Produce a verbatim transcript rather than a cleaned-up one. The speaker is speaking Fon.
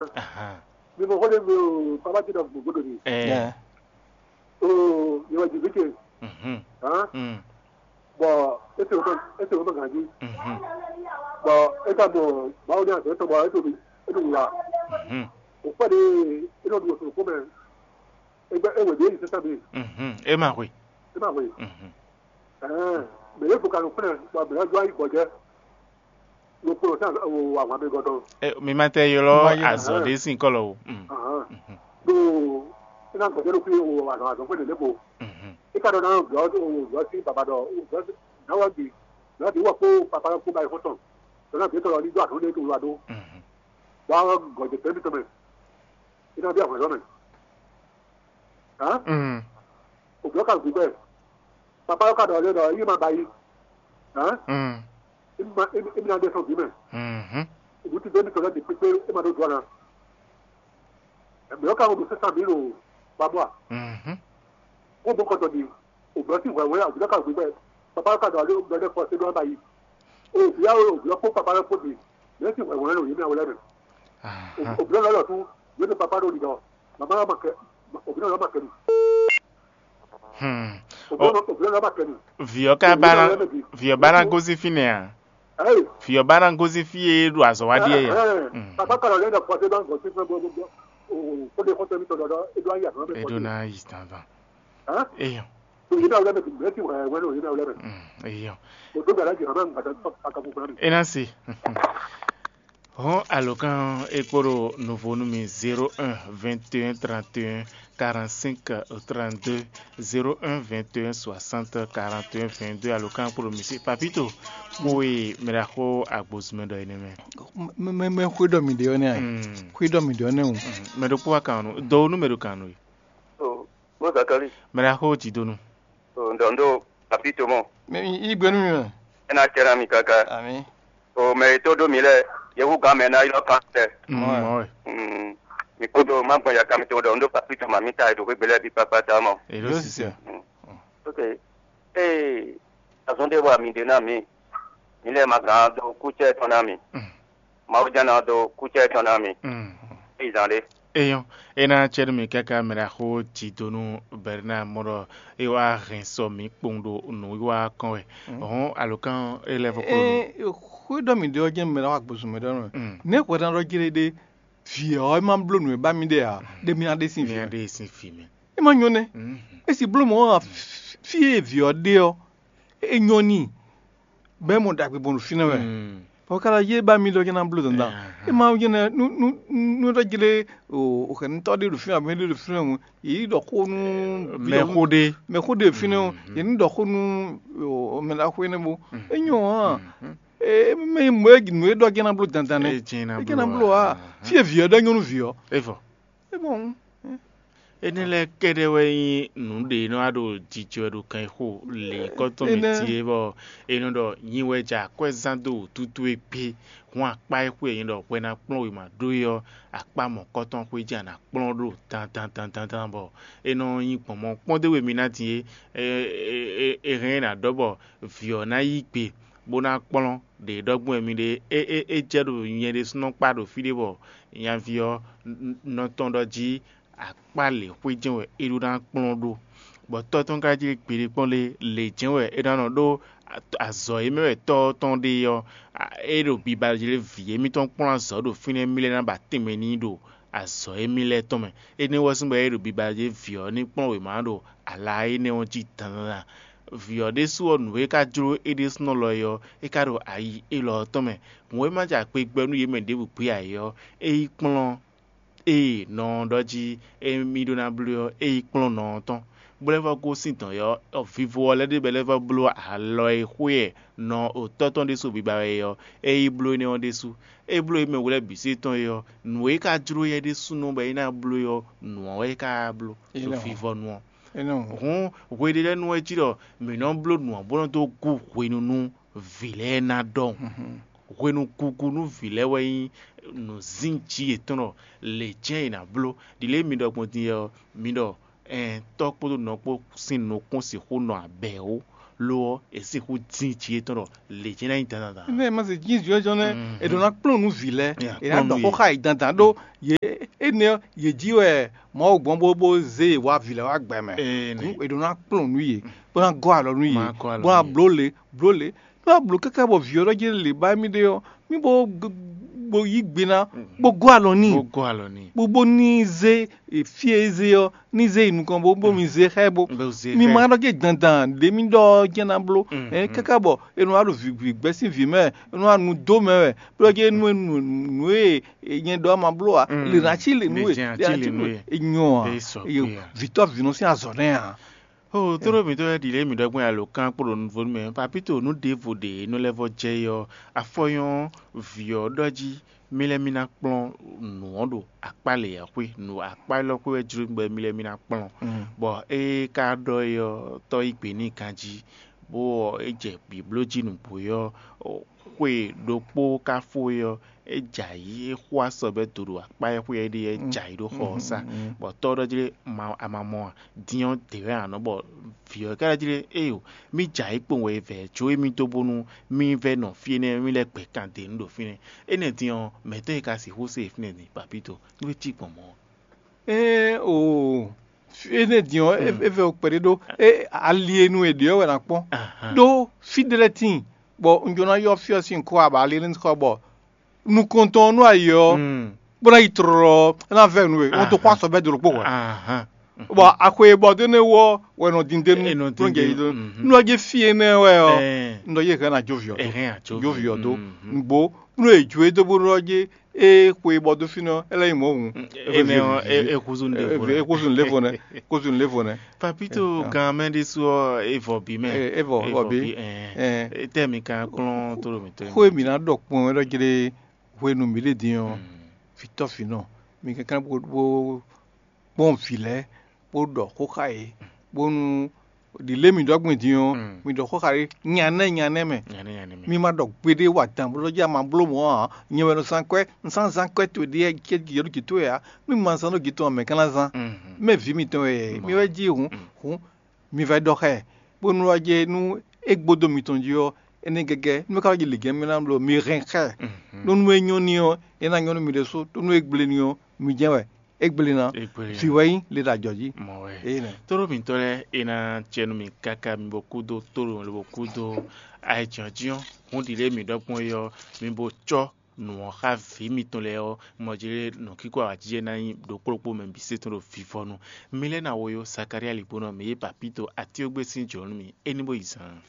Ahan. Mi mɔ xó ɖé mi o, papa ti ɖɔ gbogbo ɖo mi. Ɛ. Ɛ. O, mi wɔ jivike. Mhm. Hàn. Mm. Bɔ ese wotɔ ese wotɔ ganji. Mhm. Bɔ e ka mɔ bawo ní azɔ etɔn bɔ e to mi e to wula. Mhm. O kpɛ de e nɔ ɖu oṣù kó mɛ. E gbɛ e wɛ de yi sɛsɛ mi. Mhm. E ma hwe. E ma hwe. Mhm. Ɛɛ, mɛ yɛ fo ka nɔ kplɛ bɔ mɛ yɛ do ayi gbɔjɛ. Ɖokpó lɔ sín ahwan mɛ gɔ́ tɔn. Mi ma tɛ ylɔ́ Ma ylɔ́. Azɔ̌ ɖé sín kɔ́lɔ o. Mm. Ahán. Mhm. Ɖó é ná gbɔjɛ ɖokpó o azɔ̌ azɔ̌ xwé lělé ko. Mhm. É ka ɖɔ ná glɔ́ glɔ́ sín baba ɖɔ glɔ́ náwó bǐ glɔ́ bǐ wɔ kpó papa kpó ba yi xɔ́ntɔn. Ɖɔ ná bǐ tɔn lɔ ní dó azɔ̌ ɖé to wla ɖó. Mhm. Bɔ gɔ̌jɛ tɛ́ mitɔn mɛ. É ná bí ahwanzɔ́ mɛ. Hán? Mm. Òbí ɔ́ ka gbígbɛ. Papa ɔ́ ka ɖɔ lé ɖɔ yí ma ba yi. Hán? Mm. Emi ma emi ná ɖe sɔn vǐ mɛ. Mhm. Òbí ti dé mi tɔn lɛ́ bǐ kpékpé é ma ɖó dua ná. Ɛmɛ ɔ́ ka ŋu ɖo sɛ́sán mǐ ɖo babɔ́ a? Mhm. Kó bó kɔtɔ ɖi òbí ɔ́ sín hwɛ̌hwɛ́ òbí ɔ́ ka gbígbɛ. Papa ɔ́ ka ɖɔ lé ɖɔ lɛ́ fɔ sé ɖó ɔ́ ba yi. Òbí ɔ́ òbí ɔ́ kpó papa lɛ́ kpó ɖi. Mɛ̌ sín hwɛ̌hwɛ́ ɖo yě mɛ wɛ lɛ́ mɛ. Aha. Òbí ɔ́ lɔ lɔ tún yě ɖo papa ɖo ɖiɖɔ. Mama ɔ́ ma kɛ òbí ɔ́ lɔ ma kɛ mi. Hmm. Òbí ɔ́ lɔ ma kɛ mi. Vǐ ɔ́ ka ba ná vǐ ɔ́ ba ná gosín fínɛ́ a? Vǐ ɔ́ ba ná gosín fí e ɖo azɔ̌ wa ɖíe ya. Papa kɔlɔ lɛ dɔ pɔtɛ dɔ gɔsi fún bɔ bɔ o kó de kɔtɛ mi tɔ dɔ dɔ e do ayi azɔ̌ mɛ. E do na yi dandan. Eyɔn. Òye náà wúlẹ̀ mɛ tìmí mẹ́tì wẹ̀ wẹ́ ní òye náà wúlẹ̀ mɛ. Eyɔn. O tó gbàdá jìnnà máa ń gbàdá pàtàkì fún mi. E na se. Hɔn alɔkan e kpo ɖo novo nú mi zéro un vingt et un trente et un quarante-cinq trente-deux, zéro un vingt et un soixante quarante et un vingt-deux, alɔkan kpo ɖo mi si papito. Kpo e mɛ ɖaxó agbozumɛ ɖɔ énɛ́ mɛ. Mɛ mɛ xwé ɖɔ mi ɖe ɔ́ nɛ ayi. Xwé ɖɔ mi ɖe ɔ́ nɛ o. Mɛ ɖokpó wa kan nɔ do nú mɛ ɖo kan nɔ e. Bó Zakali. Mɛ ɖaxó jǐ do nú. Ndo ndo papi to mɔ. Mɛ yi gbé nú mi mɛ. Ena cɛ na mi kaka. Ami. O mɛ yi to ɖo mi lɛ, yewu gan mɛ na ylɔ kan tɛ. Mɔ wɛ. Mi kúdo má gbɔn yaka mi to ɖɔ ndo papi to ma mi ta ɖo xwé gbélé bí kpakpata mɔ. Èló sisɛ. Ok. Ee azɔn ɖé wa mi ɖe na mi. Mi lɛ ma gan do kúcɛ tɔn na mi. Mawu jɛ́n ná dó kúcɛ tɔn ná mi. Yi zán ɖé. Eyɔn, é ná cɛ́ nú mì káká mɛ ɖaxó Jidonu Bɛrina mɔ ɖɔ é wá hɛn sɔ mǐ kpowun ɖo nǔwiwa kɔn wɛ. Hɔn alǒkan é lɛ́ vɔ kplɔ́n mì. Xwé ɖɔ mǐ ɖe ɔ́ jɛ́n mɛ ɖaxó agbozun mɛ ɖɔ nɔ. Nɛ̌ hwɛɖán ɖɔ jlé ɖé vǐ ɔ́ é má bló nǔ e ba mì ɖe ǎ, ɖé mì ná ɖe sín vǐ. Mì ná ɖe sín vǐ mɛ. É má nyɔ́ nɛ́. É si bló mɔ̌ ǎ, fí e vǐ ɔ́ ɖe ɔ́, é nyɔ́ n'i. Bɛ́ mɔ ɖagbe gbɔn ɖo fínɛ́ wɛ. Bɔ ka lɔ yé ba mi ɖɔ jɛ́n ná bló dandan. É ma jɛ́n nú nú nú ɖɔ jlé o o xɛnutɔ ɖé ɖo fínɛ́ abɛ ɖé ɖo fínɛ́ o yě yi ɖɔ xó nú Mɛ xó ɖé. Mɛ xó ɖé ɖo fínɛ́ o yě ní ɖɔ xó nú o mɛ la xó énɛ́ bo. É nyɔ hàn. É mɛ mɔ é nǔ e ɖɔ jɛ́n ná bló dandan nɛ́. É jɛ́n ná É jɛ́n ná bló bló a. Fí e vǐ ɔ́ ɖɔ nyɔ́nú vǐ ɔ́. É vɔ. É bɔn. Énɛ́ lɛ́ɛ kɛ́ɖɛ́ wɛ nyí nǔ ɖě e nɔ wá ɖo jijɔ wɛ ɖo kan e xo lě kɔ́tɔn mɛ Énɛ́. Din é bɔ è nɔ ɖɔ nyi wɛ jɛ akwɛ́zán dó wǔtútú e gbé. Hɔn akpá e xwe nyí ɖɔ hwɛ ná kplɔ́n wěma ɖó é ɔ́, akpá mɔ̌kɔ́tɔn xwé jɛ a nǎ kplɔ́n ɖo dandandandandan bɔ é nɔ nyí gbɔn mɔ kpɔ́n dó we mi ná din é. È hɛn é nǎ ɖɔ bɔ vǐ ɔ́ ná yí gbe bó ná kplɔ́n ɖě ɖɔgbɔn wɛ mi ɖe é é é jɛ ɖo nyɛ ɖésúnɔ kpá ɖo fí ɖé bɔ nyaví ɔ́ nɔ tɔn ɖɔ jí akpá lě xwé jɛ́n wɛ é ɖó ná kplɔ́n ɖó. Bɔ tɔ́ tɔn ka jlé gbeɖé kpɔ́n lé lě jɛ́n wɛ é ná nɔ ɖó azɔ̌ e mɛ wɛ tɔ́ ɔ́ tɔn ɖe ɔ́, é ɖo biba jlé vǐ émítɔn kplɔ́n azɔ̌ ɖo fínɛ́ mí lɛ́ ná ba tɛnmɛ n'i ɖo azɔ̌ émí lɛ́ɛ tɔn mɛ. Énɛ́ wɛ sín bɔ é ɖo biba jlé vǐ ɔ́ ní kplɔ́n wěma ɖo ala énɛ́ ɔ́ jí dandandan. Vǐ ɔ́ ɖésú ɔ́, nǔ e ka jló é ɖésúnɔ lɔ é ɔ́, é ka ɖo ayi élɔ́ ɔ́ tɔn mɛ. Hǔn e ma jɛ akpe gbɛ nú yě mɛ ɖěbǔ gbé ǎ é ɔ́, é yi kplɔ́n ée nɔ ɔ́ ɖɔ jí émí ɖó ná bló ɔ́, é yi kplɔ́n nɔ ɔ́ tɔn, bó lɛ́ vɔ́ gosín dɔ̌n ɔ́, vivo ɔ́ lɛ́ ɖe bɔ é lɛ́ vɔ́ bló alɔ e xwé ɛ nɔ otɔ́ tɔn ɖésú biba wɛ é ɔ́, é yi bló énɛ́ ɔ́ ɖésú. É bló émí mɛ we lɛ́ɛ bǐ sí tɔn é ɔ́, nǔ e ka jló yɛ ɖésúnɔ bɔ é ná bló é ɔ́, nǔ ɔ́ wɛ é ka bló ɖo vivɔnu ɔ́. Hǔn hweɖélɛ́nu ɔ́ jí ɖɔ mǐ nɔ bló nǔ ɔ́ bó nɔ́ dó gú hwenu nú vǐ lɛ́ɛ ná ɖɔhun. Hwenu gugu nú vǐ lɛ́ɛ wɛ nyí nǔzínjí yětɔn ɖɔ lě jɛ́n è nǎ bló. Ɖi lě e mi ɖɔ gbɔn din ɔ́, mi ɖɔ ɛn tɔ́ kpódó nɔ kpó sín nukún sixú nɔ abɛ̌ ó. lo ɔ́, è sixú dín jǐ yětɔn ɖɔ lě jɛ́n ná nyí dandan. Nɛ ma se jí zɔnzɔn nɛ, è ɖǒ ná kplɔ́n nú vǐ lɛ́ɛ, è ná ɖɔ xó xá yě dandan ɖó yě énɛ́ ɔ́, yě jí wɛ Mawu gbɔn bó bó zé yě wá vǐ lɛ́ɛ wá gbɛ mɛ. Hǔn è ɖǒ ná kplɔ́n nú yě, bó ná gɔ́ alɔ nú yě, bó ná bló lě bló lě. Nú a blǒ káká bɔ vǐ ɔ́ ɖɔ jɛ́n lě ba émí ɖe ɔ́, mí bó bó yí gbe ná, bó gɔ́ alɔ n'i, bó gɔ́ alɔ n'i. Bó bó ní zé fí e é zé ɔ́, ní zé yi nukɔn bó bó mi zé xá ɛ bó. Bó zé mi xá ɛ. Ma ɖɔ jɛ dandan ɖě mi ɖɔ jɛ ná bló. Ɛ káká bɔ e nɔ wá ɖo vǐ gbɛ́ sín vǐ mɛ, e nɔ wá nu dó mɛ wɛ, bó ɖɔ jɛ nú nú e nyɛ ɖɔ ma bló ǎ. Lě ná cí lě nú e, lě ná cí lě nú e. E nyɔ ǎ. Vǐtɔ́ vǐnɔ sín azɔ̌ nɛ́ ǎ. Ó, tlóló mǐtɔn lɛ́ɛ ɖi lě mǐ ɖɔ gbɔn alǒkan kpo ɖo nuvo nú mɛ. Papíto nú ɖěvo ɖě nɔ lɛ́ vɔ jɛ é ɔ́, afɔ nyɔ́ vǐ ɔ́ ɖɔ jí mì lɛ́ mì ná kplɔ́n nǔ ɔ́ ɖo akpá lě ɔ́ xwé, nǔ akpá élɔ́ xwé wɛ jló mì bɔ mì lɛ́ mì ná kplɔ́n. Bɔ ée ka ɖɔ é ɔ́, tɔ́ yí gbe n'i ganjí, bó ɔ́, é jɛ bǐbló jí nǔgbó é ɔ́, xwe ɖokpó ka fó é ɔ́, é jɛ ayǐ, é xo asɔbɛ́ do ɖo akpá e xwé ɔ́ ɖe é jɛ ayǐ ɖo xɔ ɔ́ sá, bɔ tɔ́ ɔ́ ɖɔ jlé, ama mɔ a? Din ɔ́, dě wɛ a nɔ bɔ vǐ ɔ́ ka ɖɔ jlé, éyo, mì jɛ ayǐ kpowun wɛ vɛ̌ jó émí dó bónú mì vɛ́ nɔ fí énɛ́, mì lɛ́ gbɛ kan dě nú ɖo fínɛ́. Énɛ́ din ɔ́, mɛ̌tɔ́ e ka sixú se e fínɛ́ din, papíto, nú é cí gbɔn mɔ̌ ɔ́? Ée o, énɛ́ din ɔ́, é vɛ́ kpɛɖé ɖó, é ali e nu è ɖe ɔ́ wɛ ná kpɔ́n. Ɖó fí ɖé lɛ́ɛ tíin, bɔ un jló ná ylɔ́ fí ɔ́ sín kɔ aba ali énɛ́ kɔ bɔ nukɔntɔn ɔ́ nú ayǐ ɔ́, bó ná yi tlɔlɔ ɔ́, é ná vɛ́ nǔ we, wọ́n tó xó asɔ bɛ́ dó ɖokpó hwɛ̌. Bɔ axwe e bɔ dó énɛ́ wú ɔ́ wɛ nɔ din dé nú nɔ jɛ yi dó. Nú ɔ́ jí fí énɛ́ wɛ ɔ́, un ɖɔ yě hɛn ná jó vǐ ɔ́ dó. Jó vǐ ɔ́ dó. Nǔgbó nú è jó e dó bó ɖɔ jí é xwe bɔ dó fínɛ́ ɔ́, é lɛ́ nyí mɔ̌ hǔn. Énɛ́ ɔ́, é húzú nǔɖé vo nɛ́. É húzú nǔɖé vo nɛ́. Húzú nǔɖé vo nɛ́. Papito gan mɛ ɖésú ɔ́, é vɔ bǐ mɛ. É vɔ vɔ bǐ. Étɛ́ mi ka kplɔ́n tlóló mǐtɔn? Xó e mǐ ná ɖɔ kpɔn wɛ ɖɔ jlé hwenu mǐ ɖe din ɔ́, vǐtɔ́ vǐnɔ, mi kɛnklɛ́n bó kpɔ́n vǐ lɛ́ɛ, bó ɖɔ xó xá yě, bónú ɖi lě mǐ ɖɔ gbɔn din ɔ́, mǐ ɖɔ xó xá yě nyanɛ nyanɛ mɛ. Mi ma ɖɔ gbeɖé wa dan bó ɖɔ jí a ma bló mɔ̌ ǎ. Nyɛ wɛ nɔ zán kwɛ́, un sán zán kwɛ́ towe ɖíe cé yě ɖo jǐ towe ǎ. Nú mi ma zán ɖó jǐ tɔn ǎ, mɛ̌ ka ná zán? Mɛ vǐ mitɔn wɛ, mi wɛ jí hǔn, hǔn mi vɛ ɖɔ xá ɛ, bónú wá jɛ nú é gbódó mitɔn jí ɔ́, énɛ́ gɛgɛ nú é ka wá jɛ lǐgɛ́n mɛ ná bló mi hɛn xá ɛ. Nú nú é nyɔ́ n'i ɔ́, é ná nyɔ́ nú mi ɖésú, ɖó nú é gblé n'i ɔ́, mi jɛ́n wɛ é gblé ná. Vǐ wɛ nyí le ɖo ajɔ jí. Mɔ wɛ. Éyi nɛ. Tóɖó mǐtɔn lɛ́ɛ é ná jɛ nú mi káká mi bo kúdó tóɖó lobo kúdó ayɛjɔ́jɔ́n. Hǔn ɖi lě mǐ ɖɔ gbɔn é ɔ́, mi bo cɔ́ nǔ ɔ́ xá vǐ mitɔn lɛ́ɛ ɔ́, mɔ jí lé nǔkíkó awǎjijɛ ná nyí ɖokpó ɖokpó mɛ bǐ se tɔn ɖo vivɔnu. Mi lɛ́ ná wo yó Zakalía ligbónɔ mǐ yí papíto atíógbé sín jlǒ nú mi, é ní bó yi zaan.